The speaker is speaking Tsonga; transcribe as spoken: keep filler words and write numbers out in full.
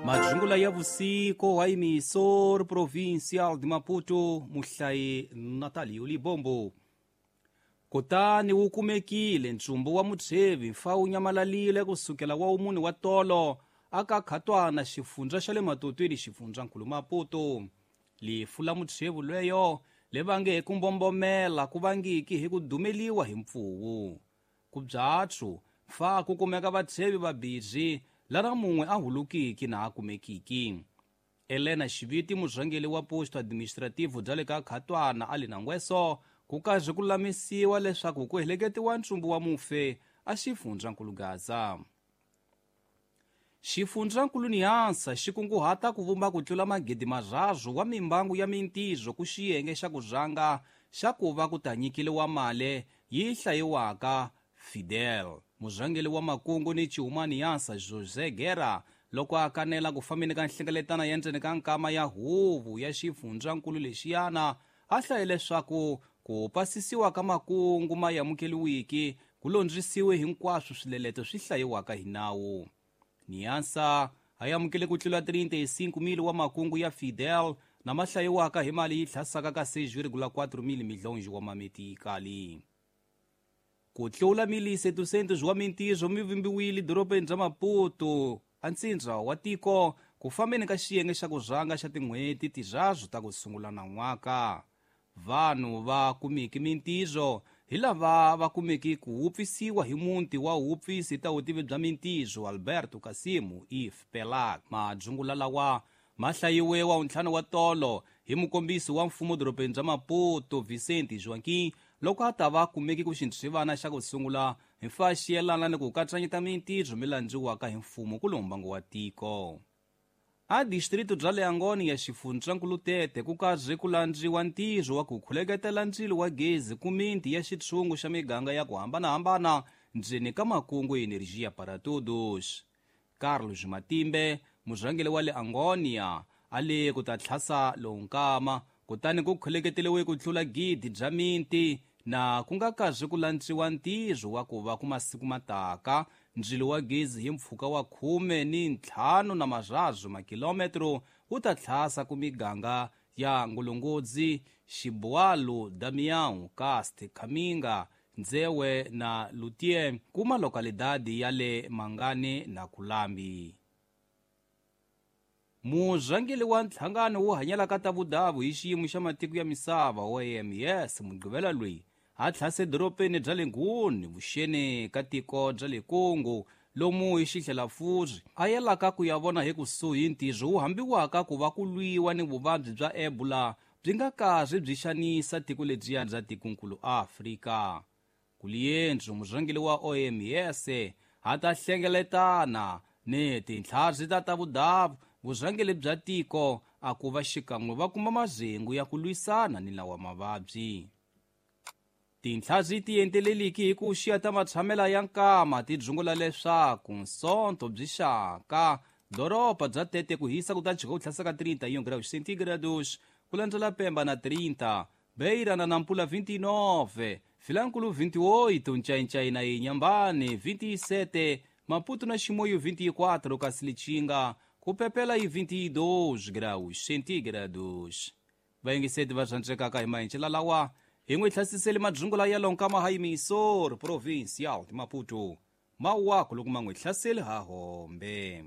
Majungula ya vusiku wa emissor provincial de Maputo muhlayi Natalio Libombo. Kutani wu kumekile ntsumbu wa mutshevi mfa wu nyamalalile kusukela wa umuni wa tolo aka khatwana xifundza xa le matotweni xifundzankulu Maputo. Lifu la mutshevi lweyo le vange hi ku mbombomela ku vangiki hi ku dumeliwa hi mpfuwu. Ku byatsu mfa ku kumeka vatshevi vabirhi lana mun'we a hulukiki na a kumekiki. Elena Xiviti murhangeri wa posto administrativo bya le ka Khatwana a li na ngweso ku karhi ku lulamisiwa leswaku ku heleketiwa ntsumbu wa mufe a xifundzankulu Gaza. Xifundzankulu Niansa xi kunguhata ku vumba ku tlula magidi marharhu wa mimbangu ya mintirho ku xiyenge xa ku rhanga xa ku va ku ta nyikeliwa mali yi hlayiwaka Fidel. Murhangeri wa makungu ni Chuma Niansa José Guerra loko a kanela ku fambeni ka nhlengeletano ya ndzeni ka nkama ya huvo ya xifundzankulu lexiyana a hlaye leswaku ku pasisiwa ka makungu ma amukeriwiki ku londzisiwe hinkwaswo swileleto swi hlayiwaka hi nawu. Niansa a amukele ku tlula trinta e cinco mil wa makungu ya Fidel na ma hlayiwaka hi mali yi tlhasaka ka seis vírgula quatro mil milhões wa mametikali. Ku tlula mil setecentos wa mintirho mi vumbiwile dorobeni ra Maputo a ntsindza wa tiko ku fambeni ka xiyenge xa ku rhanga xa tin'hweti tirharhu ta ku sungula nan'waka. Vanhu va kumiki mintirho hi lava va kumeki ku wupfisiwa hi muti wa wupfisi ta vutivi bya mintirho Alberto Kasimu if Pelak. Majungula lawa ma hlayiwe wa ntlhanu wa tolo hi mukombisi wa mfumo dorobeni bya Maputo Vicente Joaquim loko a ta va kumeki ku xintswivana xa ku sungula hi mfa xi yelana ni ku katsanyeta mintirho mi landziwaka hi mfumo ku lombango wa tiko. A distrito bya le Angoni ya xifundzankulu Tete ku karhi ku landziwa ntirho wa ku khuleketela ndzilo wa gezi ku miti ya xitshungu xa miganga ya ku hambanahambana ndzeni ka makungu Energia para Todos. Carlos Matimbe murhangeri wa le Angonia a le ku ta tlhasa lowu nkama kutani ku khuleketeliwe ku tlula gidi bya miti na ku nga karhi ku landziwa ntirho wa ku va ku masiku mataka ndzilo wa gezi hi mpfhuka wa khume ni ntlhanu na marharhu makilometro wu ta tlhasa ku miganga ya Ngulungodzi, Xibualu, Damião, Cast, Kaminga, Nzewe na Lutie kuma lokalidadi ya le Mangane na Kulambi. Murhangeri wa nhlangano wo hanyela ka ta vudavu hi xiyimo xa matiko ya misava O M S Mugqivela loyi a tlhase dorobeni bya le Nguni vuxeni ka tiko bya le Congo lomu hi xihlelafuri a yelaka ku ya vona hi kusuhi ntirho wu hambiwaka ku va ku lwiwa ni vuvabyi bya Ebola byi nga karhi byi xanisa tiko lebyiya bya tikonkulu Afrika. Kuliendzu murhangeri wa O M S a ta hlengeletana ni tintlhari ta ta vudavu vurhangeri bya tiko a ku va xikan'we va kuma mazengu ya ku lwisana ni lawa mavabyi. Tintlhari ti enteleliki hi ku xiya ta matshamela ya nkama ti dzungula leswaku nsonto byi xaka doroba bya Tete ku hisa ku ta jika ku tlhasa ka trinta e um graus centígrados ku landzela Pemba na trinta, Beira na Nampula vinte e nove, Vilankulo vinte e oito, Nchainchai na Inhambane vinte e sete, Maputo na Chimoio vinte e quatro, Cacilichinga ku pepela e vinte e dois graus centígrados. Vayengiseti va rhandzekaka hi maenxela lawa hi n'wi hlasisele madzungula ya lonkama ha emissor provincial de Maputo. Mawako loko ma n'wi hlaseli ha hombe.